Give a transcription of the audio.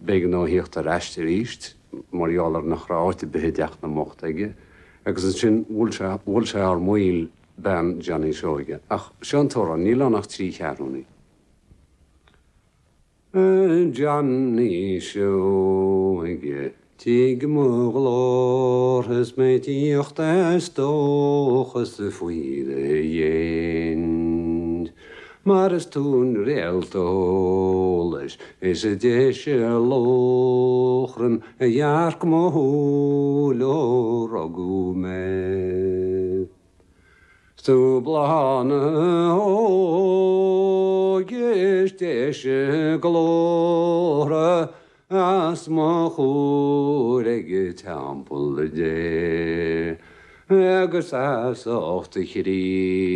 B'éigean dó a thíocht ar ais arís mar gheall ar nach raibh áit ar bith i dteach na mbocht aige agus ansin bhuail sé, bhuail sé thar maoil bean Johnny Seoige. Ach seo an t-amhrán, níl ann ach trí cheathrúnaí. A Johnny Seoige, tig mo ghlór is mé ag tíocht as dóchas faoi do dhéin. Mar is tú an réalt eolais is deise lóchrann a dhearc mo shúil ó rugadh mé. 'S tú bláth na hóige is deise glórtha os mo chomhair ag teampall Dé agus as ucht a chroí.